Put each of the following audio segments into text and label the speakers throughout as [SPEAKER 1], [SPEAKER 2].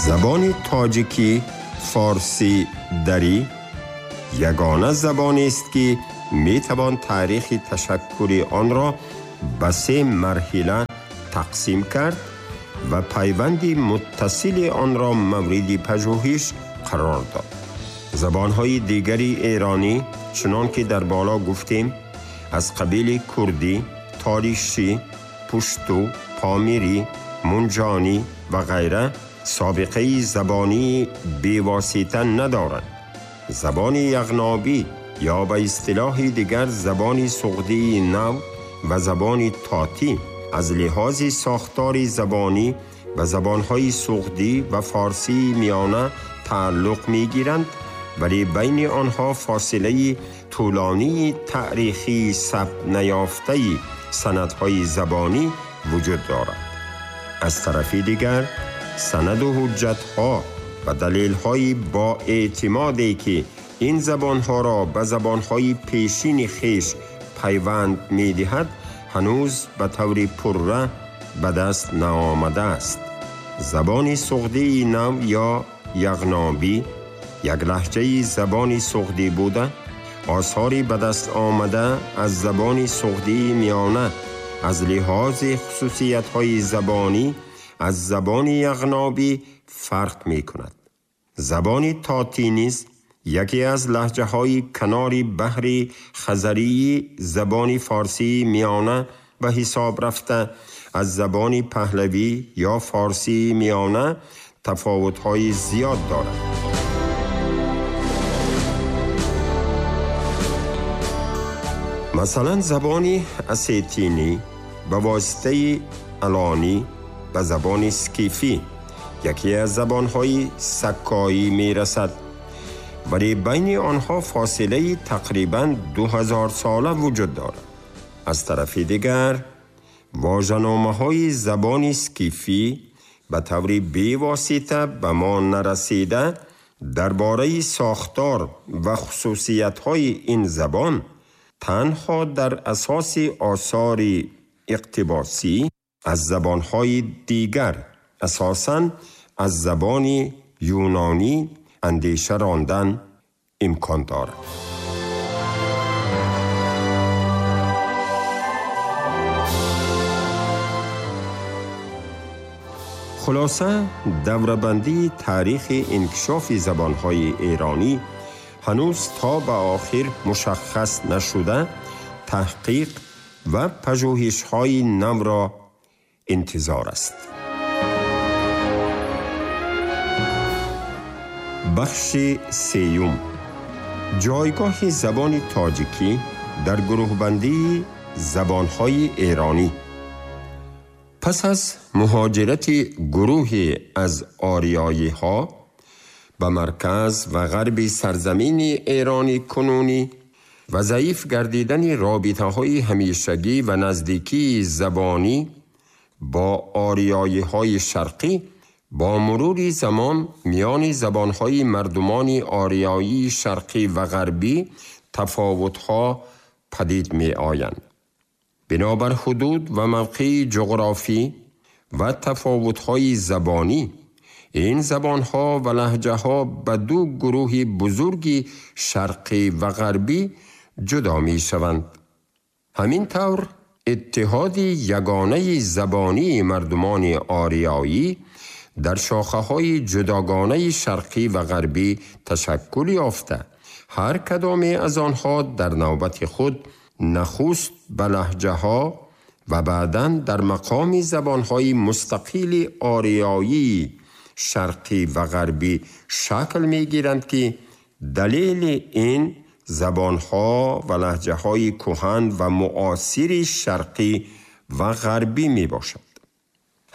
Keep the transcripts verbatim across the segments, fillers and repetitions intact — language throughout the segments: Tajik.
[SPEAKER 1] Забони тоҷикӣ форсӣ дарӣ ягона забонест ки метавон таърихи ташаккури онро ба се марҳила тақсим кард ва пайванди муттасили онро мавриди пажӯҳиш қарор дод. Забонҳои дигари эронӣ чунон ки дар боло гуфтем аз қабили курдӣ, толишӣ, пушту, помирӣ, мунҷонӣ ва ғайра собиқаи забонии бевосита надоранд. Забони яғнобӣ ё ба истилоҳи дигар забони суғдии нав ва забони тотӣ аз лиҳози сохтори забонӣ ба забонҳои суғдӣ ва форсии миёна тааллуқ мегиранд, вале байни онҳо фосилаи тӯлонии таърихии сабт наёфтаи санадҳои забонӣ вуҷуд дорад. Аз тарафи дигар санаду ҳуҷҷатҳо ва далелҳои бо эътимоде ки ин забонҳоро ба забонҳои пешини хеш пайванд медиҳад ҳанӯз ба таври пурра ба даст наомадааст. Забони суғдии нав ё яғнобӣ як лаҳҷаи забони суғдӣ буда, осори ба даст омада аз забони суғдии миёна аз лиҳози хусусиятҳои забонӣ аз забони яғнобӣ фарқ мекунад. Забони тотӣ низ яке аз лаҳҷаҳои канори баҳри хазарии забони форсии миёна ба ҳисоб рафта, аз забони паҳлавӣ ё форсии миёна тафовутҳои зиёд дорад. Масалан, забони осетинӣ ба воситаи алонӣ ба забони скифӣ, яке аз забонҳои саккоӣ мерасад, вале байни онҳо фосилаи тақрибан ду ҳазор сола вуҷуд дорад. Аз тарафи дигар вожаномаҳои забони скифӣ ба таври бевосита ба мо нарасида дар бораи сохтор ва хусусиятҳои ин забон танҳо дар асоси осори иқтибосӣ аз забонҳои дигар, асосан аз забони юнонӣ андеша рондан имкон дорад. Хулоса, даврабандии таърихи инкишофи забонҳои эронӣ ҳанӯз то ба охир мушаххас нашуда, таҳқиқ ва пажӯҳишҳои навро интизор аст. Бахши сеюм: ҷойгоҳи забони тоҷикӣ дар гурӯҳбандии забонҳои эронӣ. Пас аз муҳоҷирати гурӯҳе аз ориёиҳо ба марказ ва ғарби сарзамини эрони кунунӣ ва заиф гардидани робитаҳои ҳамешагӣ ва наздикии забонӣ бо ориёиҳои шарқӣ, бо мурури замон миёни забонҳои мардумони ориёии шарқӣ ва ғарбӣ тафовутҳо падид меоянд. Бинобар ҳудуд ва мавқеи ҷуғрофӣ ва тафовутҳои забонӣ, ин забонҳо ва лаҳҷаҳо ба ду гурӯҳи бузурги шарқӣ ва ғарбӣ ҷудо мешаванд. Ҳамин тавр иттиҳоди ягонаи забонии мардумони ориёӣ дар шохаҳои ҷудогонаи шарқӣ ва ғарбӣ ташаккул ёфта, ҳар кадоме аз онҳо дар навбати худ нахуст ба лаҳҷаҳо ва баъдан дар мақоми забонҳои мустақили ориёии шарқӣ ва ғарбӣ шакл мегиранд ки далели ин забонҳо ва лаҳҷаҳои кӯҳан ва муосири шарқӣ ва ғарбӣ мебошад.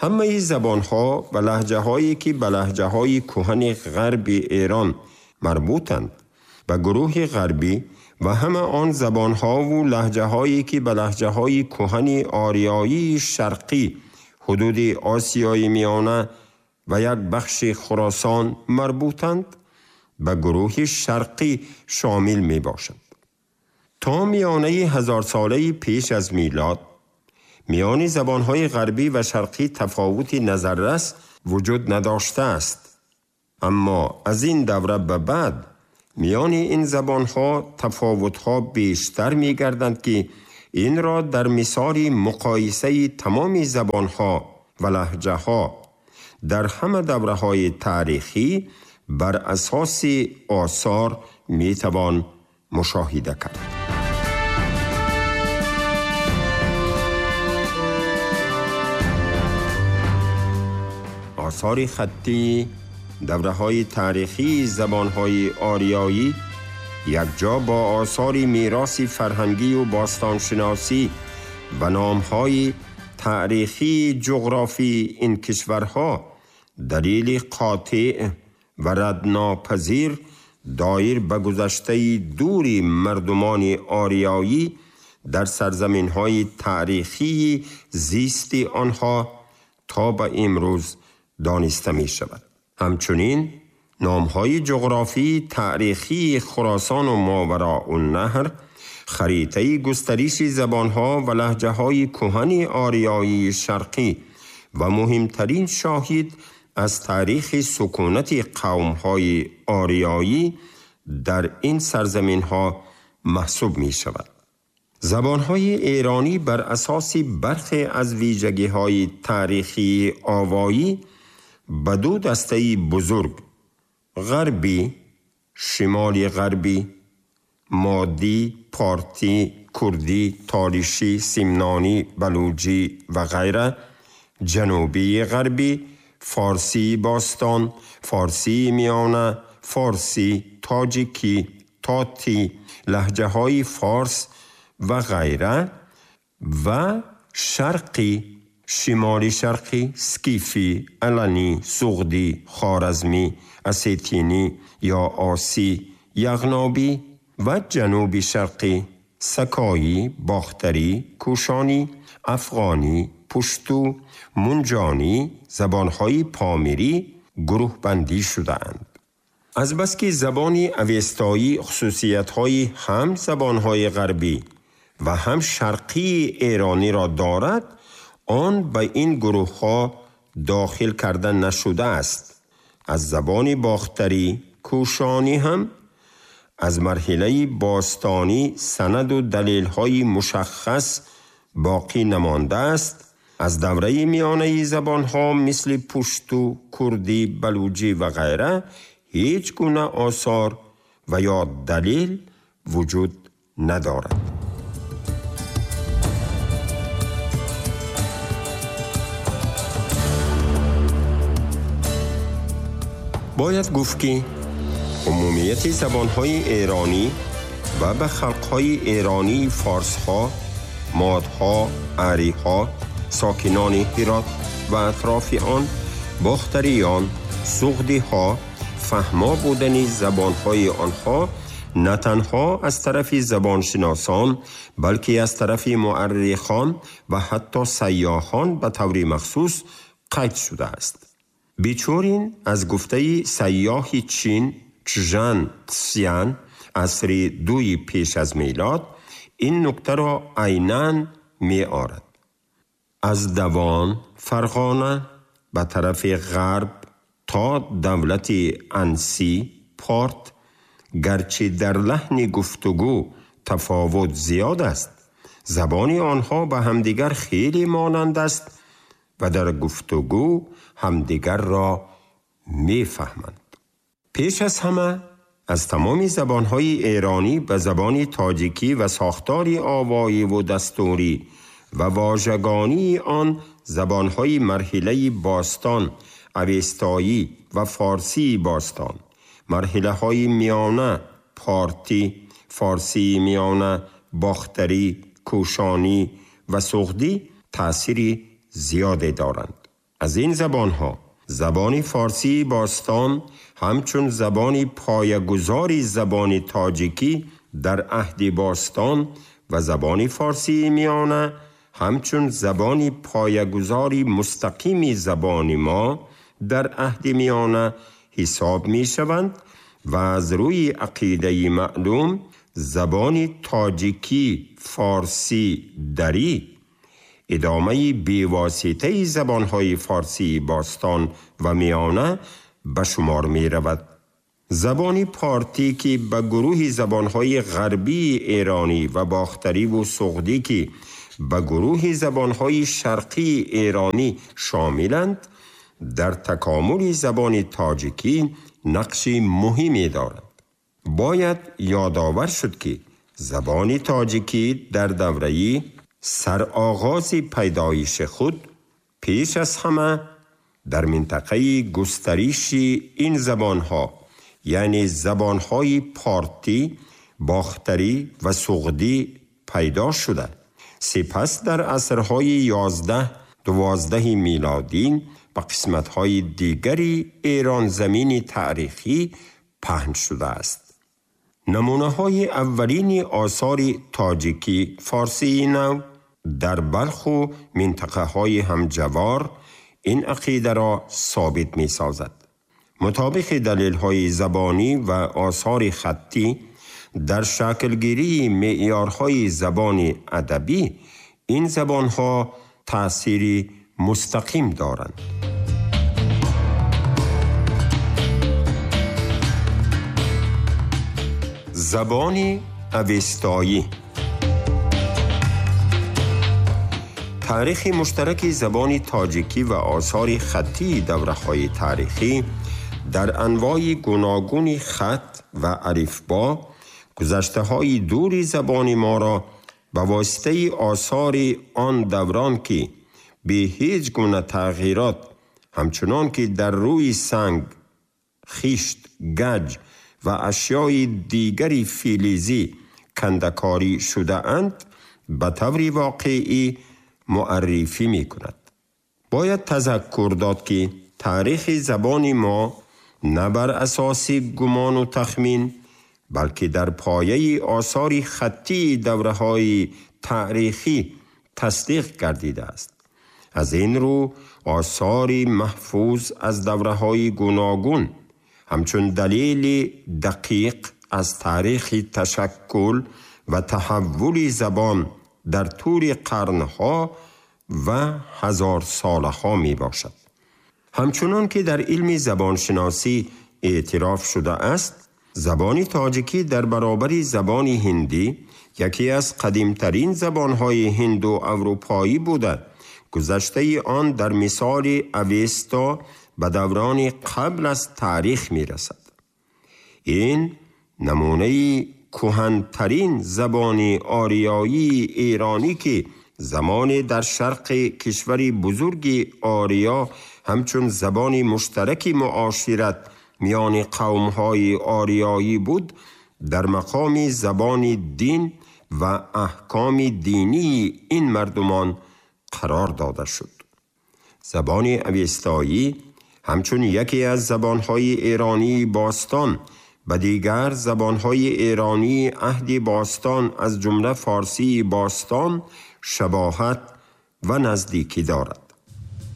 [SPEAKER 1] Ҳамаи забонҳо ва лаҳҷаҳое ки ба лаҳҷаҳои кӯҳани ғарби Эрон марбутанд, ба гурӯҳи ғарбӣ ва ҳама он забонҳову лаҳҷаҳое ки ба лаҳҷаҳои кӯҳани ориёии шарқӣ ҳудуди Осиёи Миёна ва як бахши Хуросон марбутанд, ба гурӯҳи шарқӣ шомил мебошанд. То миёнаи ҳазорсолаи пеш аз милод миёни забонҳои ғарбӣ ва шарқӣ тафовути назаррас вуҷуд надоштааст. اما از این دوره به بعد میان این زبانها تفاوتها بیشتر می‌گردند که این را در مثال مقایسه تمام زبانها و لهجه‌ها در همه دوره‌های تاریخی بر اساس آثار می‌توان مشاهده کرد. آثار خطی دوره‌های تاریخی زبان‌های آریایی یک جا با آثار میراث فرهنگی و باستانشناسی و نام‌های تاریخی جغرافی این کشورها دلیل قاطع و ردناپذیر دایر به گذشته دوری مردمان آریایی در سرزمین‌های تاریخی زیست آنها تا به امروز دانسته می شود. همچنین نام‌های جغرافی تاریخی خراسان و ماوراء النهر، خریطه گسترش زبان‌ها و لهجه‌های کهن آریایی شرقی و مهمترین شاهد از تاریخ سکونت قوم‌های آریایی در این سرزمین‌ها محسوب می‌شود. زبان‌های ایرانی بر اساس برخی از ویژگی‌های تاریخی آوایی به دو دسته بزرگ غربی، شمال غربی، مادی، پارتی، کردی، تاریشی، سیمنانی، بلوجی و غیره، جنوبی غربی، فارسی باستان، فارسی میانه، فارسی، تاجیکی، تاتی، لهجه های فارس و غیره و شرقی، شمالی شرقی، سکیفی، الانی، سغدی، خوارزمی، اسیتینی یا آسی، یغنابی و جنوبی شرقی، سکایی، باختری، کوشانی، افغانی، پشتو، منجانی، زبانهای پامیری گروه بندی شده‌اند. از بس که زبان اوستایی خصوصیت‌های هم زبانهای غربی و هم شرقی ایرانی را دارد، آن به این گروه‌ها داخل کرده نشده است. از زبان باختری کوشانی هم از مرحله باستانی سند و دلیل‌های مشخص باقی نمانده است. از دوره میانه زبان‌ها مثل پشتو، کردی، بلوچی و غیره هیچ گونه آثار و یا دلیل وجود ندارد. باید گفت که عمومیت زبان‌های ایرانی و به خلق‌های ایرانی فارس‌ها، مادها، عری‌ها، ساکنان هرات و اطراف آن، باختریان، سغدی‌ها، فهما بودن زبان‌های آنها نه تنها از طرف زبانشناسان بلکه از طرف مؤرخان و حتی سیاحان به طور مخصوص قید شده است. بیچورین از گفته سیاح چین چژان تسیان عصر دوی پیش از میلاد این نکته را عیناً می آرد. از دوان فرغانه به طرف غرب تا دولت انسی پارت، گرچه در لحن گفتگو تفاوت زیاد است، زبان آنها به همدیگر خیلی مانند است و در گفتگو همدیگر را میفهمند. پیش از همه از تمام زبانهای ایرانی به زبان تاجیکی و ساختار آوایی و دستوری و واژگانی آن زبانهای مرحله باستان، اوستایی و فارسی باستان، مرحله های میانه، پارتی، فارسی میانه، باختری، کوشانی و سغدی تأثیر زیادی دارند. از این زبانها زبان فارسی باستان همچون زبان پایه‌گذاری زبان تاجیکی در عهد باستان و زبان فارسی میانه همچون زبان پایه‌گذاری مستقیم زبان ما در عهد میانه حساب می شوند و از روی عقیده معلوم زبان تاجیکی فارسی دری ادامه بیواسطه زبانهای فارسی باستان و میانه به شمار می رود. زبان پارتی که به گروه زبانهای غربی ایرانی و باختری و سغدی که به گروه زبانهای شرقی ایرانی شاملند، در تکامل زبان تاجیکی نقش مهمی دارد. باید یادآور شد که زبان تاجیکی در دوره‌ای سرآغاز پیدایش خود پیش از همه در منطقه گسترش این زبانها، یعنی زبانهای پارتی، باختری و سغدی پیدا شده. سپس در عصرهای یازده دوازده میلادی به قسمت‌های دیگری ایران زمین تاریخی پهن شده است. نمونه‌های اولین آثار تاجیکی فارسی نو در بلخ و منطقه‌های همجوار این عقیده را ثابت می‌سازد. مطابق دلیل‌های زبانی و آثار خطی در شکلگیری معیارهای زبان ادبی این زبان‌ها تأثیری مستقیم دارند. زبان اوستایی. تاریخ مشترک زبان تاجیکی و آثار خطی دوره‌های تاریخی در انواع گوناگون خط و الفبا گذشته‌های دور زبان ما را به واسطه آثار آن دوران که به هیچ گونه تغییرات همچنان که در روی سنگ، خشت، گج و اشیای دیگری فلزی کندکاری شده اند به طور واقعی معرفی می کند. باید تذکر داد که تاریخ زبان ما نه بر اساس گمان و تخمین بلکه در پایه آثار خطی دوره‌های تاریخی تصدیق گردیده است. از این رو آثار محفوظ از دوره‌های گوناگون همچون دلیل دقیق از تاریخ تشکل و تحول زبان در طول قرنها و هزار سالها می باشد. همچنان که در علم زبانشناسی اعتراف شده است، زبان تاجیکی در برابر زبان هندی یکی از قدیمترین زبانهای هند و اروپایی بوده. گذشته آن در مثال اوستا به دوران قبل از تاریخ می رسد. این نمونه کهن‌ترین زبان آریایی ایرانی که زمان در شرق کشور بزرگ آریا همچون زبان مشترک معاشرت میان قوم‌های آریایی بود، در مقام زبان دین و احکام دینی این مردمان قرار داده شد. زبان اوستایی همچون یکی از زبان‌های ایرانی باستان و دیگر زبان‌های ایرانی عهد باستان از جمله فارسی باستان شباهت و نزدیکی دارد.